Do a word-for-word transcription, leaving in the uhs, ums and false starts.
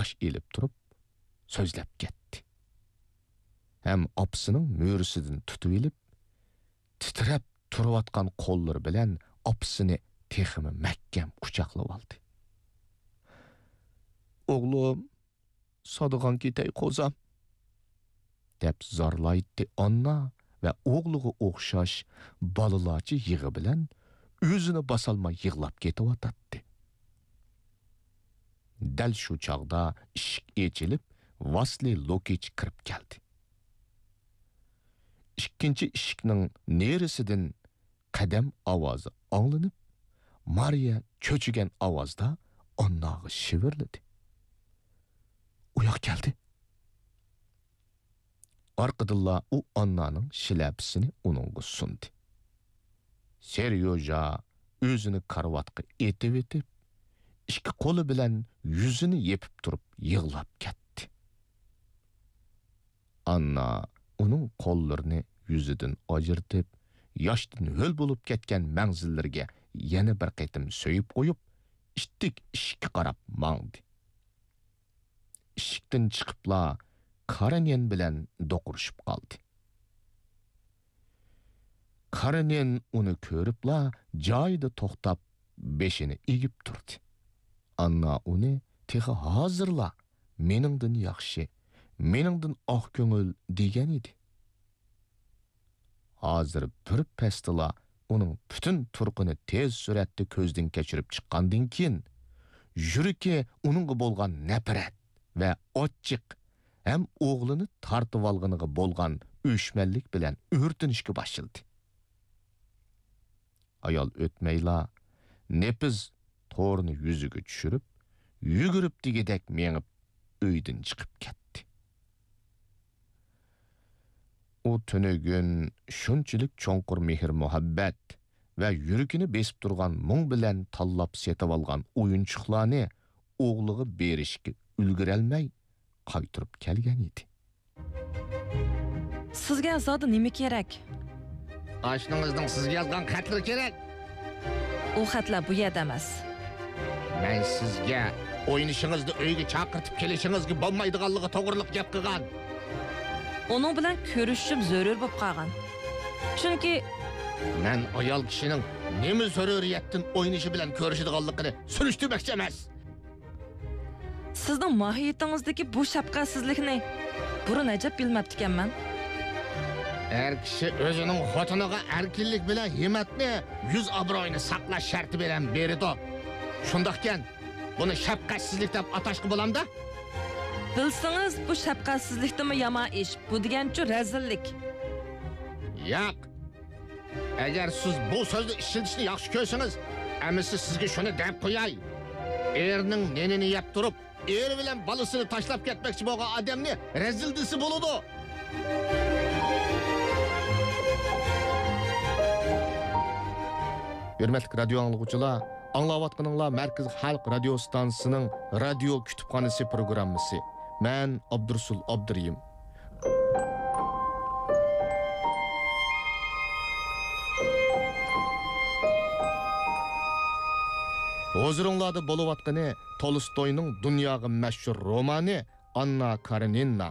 ياش ئېلىپ تۇرۇپ سۆزلەپ كەتتى. ھەم ئاپىسىنىڭ مۈرىسىدىن تۇتۇۋېلىپ، تىترەپ تۇرۇۋاتقان قوللىرى بىلەن ئاپىسىنى تېخىمۇ مەھكەم قۇچاقلىۋالدى. «ئوغلۇم، سادىغان كېتەي قوزام!» دەپ زارلايتتى ئاننا ۋە ئوغلىغا ئوخشاش بالىلارچە يىغا بىلەن ئۆزىنى باسالماي يىغلاپ كېتىۋاتاتتى. دەل شۇ چاغدا ئىشىك ئېچىلىپ، ۋاسلىي لوكىچ كىرىپ كەلدى. ئىككىنچى ئىشىكنىڭ نېرىسىدىن قەدەم ئاۋازى ئاڭلىنىپ، مارىيە چۆچۈگەن ئاۋازدا ئانناغا شىۋىرلىدى: «ئۇياق كەلدى!» ئارقىدىنلا ئۇ ئاننانىڭ شىلەپىسىنى ئۇنىڭغا سۇندى. سېريوژا ئۆزىنى كارىۋاتقا ئېتىۋېتىپ، ئىككى قولى بىلەن يۈزىنى يېپىپ تۇرۇپ يىغلاپ كەتتى. ئاننا ئۇنىڭ قوللىرىنى يۈزىدىن ئاجرىتىپ، ياشتىن ھۆل بولۇپ كەتكەن مەڭزىلىرىگە يەنە بىر قېتىم سۆيۈپ قويۇپ، ئىتتىك ئىشىككە قاراپ ماڭدى. ئىشىكتىن چىقىپلا كارېنىن بىلەن دوقۇرۇشۇپ قالدى. كارېنىن ئۇنى كۆرۈپلا جايىدا توختاپ، بېشىنى ئېگىپ تۇردى. ئاننا ئۇنى تېخى ھازىرلا «مېنىڭدىن ياخشى، مېنىڭدىن ئاق كۆڭۈل» دېگەن ئىدى. ھازىر بىر پەستىلا ئۇنىڭ پۈتۈن تۇرقىنى تېز سۈرئەتتە كۆزدىن كەچۈرۈپ چىققاندىن كېيىن، يۈرىكى ئۇنىڭغا بولغان نەپرەت ۋە ئاچچىق ھەم ئوغلىنى تارتىۋالغىنىغا بولغان ئۆچمەنلىك بىلەن ئۆرتىنىشكە باشلىدى. ئايال ئۆتمەيلا، نېپىز تورنى يۈزىگە چۈشۈرۈپ، يۈگۈرۈپ دېگۈدەك مېڭىپ، ئۆيدىن چىقىپ كەتتى. ئۇ تۈنۈگۈن شۇنچىلىك چوڭقۇر مېھىر-مۇھەببەت ۋە يۈرىكىنى بېسىپ تۇرغان مۇڭ بىلەن تاللاپ سېتىۋالغان ئويۇنچۇقلارنى ئوغلىغا بېرىشكە ئۈلگۈرەلمەي، قايتۇرۇپ كەلگەن ئىدى. سىزگە زادى نېمە كېرەك؟ ئاشنىڭىزنىڭ سىزگە يازغان خەتلىرى كېرەك. ئۇ خەتلەر بۇ يەردە ئەمەس. مەن سىزگە ئوينىشىڭىزنى ئۆيگە چاقىرتىپ كېلىشىڭىزگە بولمايدىغانلىقى توغرىلىق گەپ قىلغان. ئۇنىڭ بىلەن كۆرۈشۈشۈم زۆرۈر بولۇپ قالغان. چۈنكى مەن ئايال كىشىنىڭ نېمە زۆرۈرىيەتتىن ئوينىشى بىلەن كۆرۈشىدىغانلىقىنى سۈرۈشتۈرمەكچى ئەمەس. سىزنىڭ ماھىيىتىڭىزدىكى بۇ شەپقەتسىزلىكنى بۇرۇن ئەجەب بىلمەپتىكەنمەن. ئەر كىشى ئۆزىنىڭ خوتۇنىغا ئەركىنلىك بىلەن ھىممەتنى، يۈز ئابرۇيىنى ساقلاش شەرتى بىلەن بېرىدۇ. شۇنداقكەن، بۇنى شەپقەتسىزلىك دەپ ئاتاشقا بولامدا؟ بىلسىڭىز، بۇ شەپقەتسىزلىكتىنمۇ يامان ئىش. بۇ دېگەنچۇ رەزىللىك. ياق. ئەگەر سىز بۇ سۆزنى ئىشلىتىشنى ياخشى كۆرسىڭىز، ئەمىسە سىزگە شۇنى دەپ قوياي. ئېرىنىڭ نېنىنى يەپ تۇرۇپ، ئېرى بىلەن بالىسىنى تاشلاپ كەتمەكچى بولغان ئادەمنى رەزىل دېسە بولىدۇ. ھۆرمەتلىك رادىيو ئاڭلىغۇچىلار، ئاڭلاۋاتقىنىڭلار مەركىزىي خەلق رادىيو ئىستانسىسىنىڭ رادىيو كۇتۇپخانىسى پروگراممىسى. مەن ئابدۇرۇسۇل ئابدۇرېھىم. ھۇزۇرۇڭلاردا بولۇۋاتقىنى تولستوينىڭ دۇنياغا مەشھۇر رومانى ئاننا كارېنىنا.